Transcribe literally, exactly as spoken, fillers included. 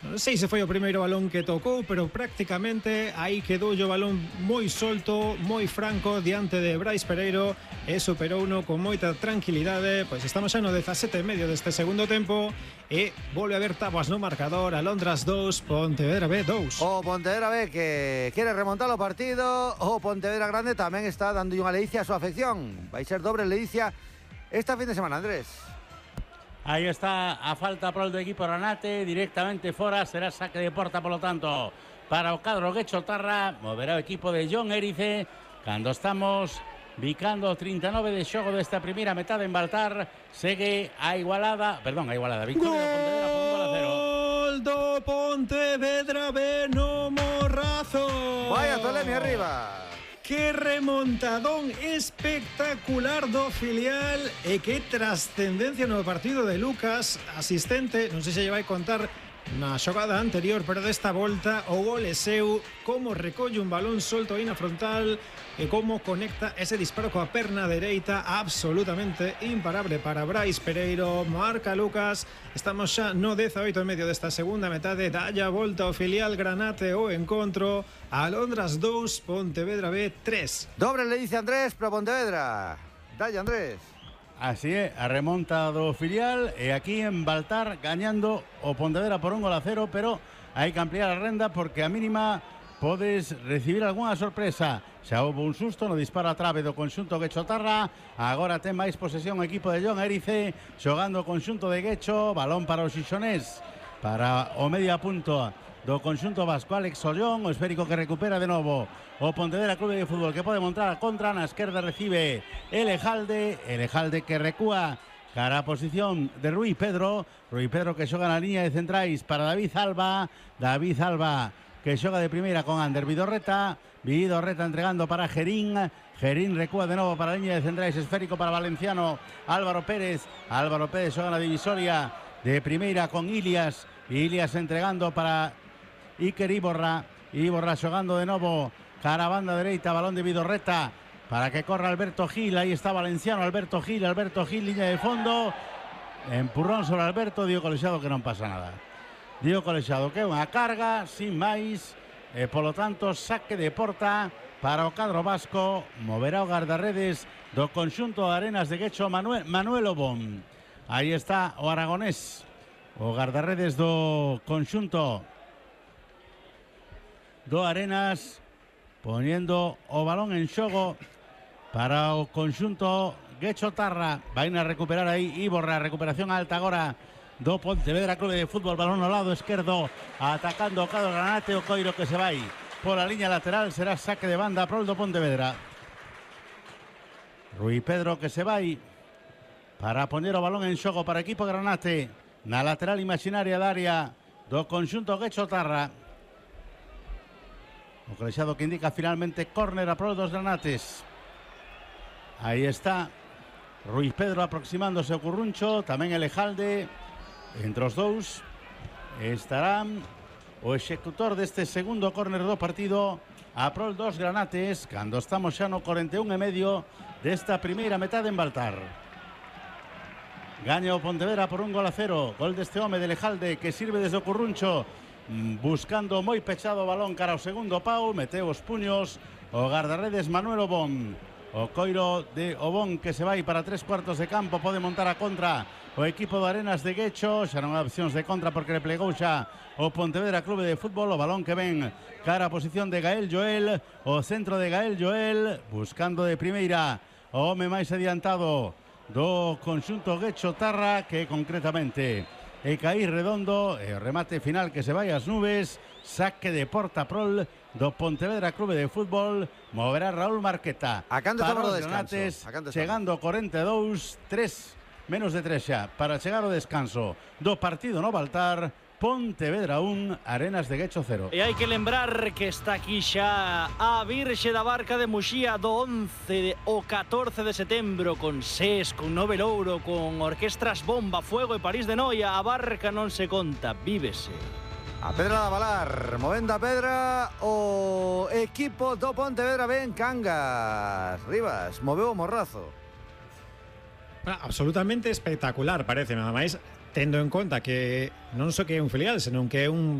Non sei se foi o primeiro balón que tocou, pero prácticamente aí quedou o balón moi solto, moi franco diante de Brais Pereiro e superou uno con moita tranquilidade. Pois estamos xa no dezasete e medio deste segundo tempo e volve a haber táboas no marcador. Alondras dos, Pontevedra B dos. O Pontevedra B que quere remontar o partido. O Pontevedra Grande tamén está dando unha ledicia a súa afección. Vai ser dobre ledicia esta fin de semana, Andrés. Aí está a falta pro do equipo Granate, directamente fora, será saque de porta, polo tanto, para o cadro Guecho Tarra, moverá o equipo de John Érice, cando estamos bicando trinta e nove de xogo desta primeira metade en Baltar, segue a igualada, perdón, a igualada, victoria do Pontevedra por un gol a cero. Gol do Pontevedra B no Morrazo. Vaya Tolemi arriba. Que remontadón espectacular do filial e que trascendencia no partido de Lucas, asistente, non sei se lle vai contar na xogada anterior, pero desta volta o gol é seu, como recolle un balón solto aí na frontal e como conecta ese disparo coa perna dereita, absolutamente imparable para Brais Pereiro. Marca Lucas, estamos xa no dezaoito e medio desta segunda metade, dalla volta o filial Granate o encontro. Alondras dos, Pontevedra B tres. Dobre le dice Andrés para Pontevedra. Dalle, Andrés. Así é, a remonta do filial e aquí en Baltar gañando o Pontevedra por un gol a cero, pero hai que ampliar a renda porque a mínima podes recibir algunha sorpresa. Xa houve un susto no disparo a trave do conxunto Guecho Tarra, agora ten máis posesión o equipo de John Érice, xogando o conxunto de Guecho, balón para o Xixonés, para o media punto do conxunto vasco Alex Ollón, o esférico que recupera de novo o Pontevedra Clube de Fútbol, que pode montar a contra, na esquerda recibe Elejalde, Elejalde que recúa cara a posición de Rui Pedro, Rui Pedro que xoga na liña de centrais para David Alba, David Alba que xoga de primeira con Ander Vidorreta, Vidorreta entregando para Gerín, Gerín recúa de novo para a liña de centrais, esférico para Valenciano, Álvaro Pérez, Álvaro Pérez xoga na divisoria de primeira con Ilias, Ilias entregando para Iker Iborra, Iborra xogando de novo cara a banda dereita, balón de Vidorreta para que corra Alberto Gil, aí está Valenciano, Alberto Gil, Alberto Gil, liña de fondo, empurrón sobre Alberto, dio colexado que non pasa nada, dio colexado que é unha carga, sin máis, e polo tanto saque de porta para o cadro vasco, moverá o guardarredes do conxunto de Arenas de Guecho, Manuel, Manuel Obón, aí está o aragonés, o guardarredes do conxunto do Arenas, poniendo o balón en xogo para o conxunto Guecho Tarra. Vai a recuperar aí Iborra, recuperación alta agora do Pontevedra Clube de Fútbol, balón ao lado esquerdo, atacando o cadro Granate, o Coiro que se vai por a liña lateral, será saque de banda pro do Pontevedra. Rui Pedro que se vai para poñer o balón en xogo para o equipo Granate na lateral imaginaria da área do conxunto Guecho Tarra. O colexado que indica finalmente córner a prol dos Granates. Aí está Rui Pedro aproximándose ao Curruncho, tamén Elejalde. Entre os dous estarán o executor deste segundo córner do partido a prol dos Granates, cando estamos xa no cuarenta e un e medio desta primeira metade en Baltar. Gaña o Pontevedra por un gol a cero. Gol deste home de Elejalde que sirve desde o Curruncho, buscando moi pechado o balón cara ao segundo pau, meteu os puños o guardarredes Manuel Obón, o Coiro de Obón que se vai para tres cuartos de campo, pode montar a contra o equipo de Arenas de Guecho, xa non hai opcións de contra porque le plegou xa o Pontevedra Clube de Fútbol, o balón que ven cara a posición de Gael Joel, o centro de Gael Joel, buscando de primeira o home máis adiantado do conxunto Guecho Tarra, que concretamente e caí redondo, e o remate final que se vai ás nubes, saque de porta prol do Pontevedra Clube de Fútbol, moverá Raúl Marqueta. A canto estamos no descanso. Chegando ao cuarenta e dous, tres, menos de tres xa, para chegar ao descanso do partido no Baltar, Pontevedra un, Arenas de Guecho cero. E hai que lembrar que está aquí xa a Virxe da Barca de Muxía do once ao catorce de setembro, con SES, con Nove Louro, con orquestras Bomba, Fuego e París de Noia. A barca non se conta, vívese. A pedra da Valar, movendo a pedra o equipo do Pontevedra ben Cangas. Rivas, moveu o Morrazo. Absolutamente espectacular, parece, nada máis. tendo en conta que non só que é un filial, senón que é un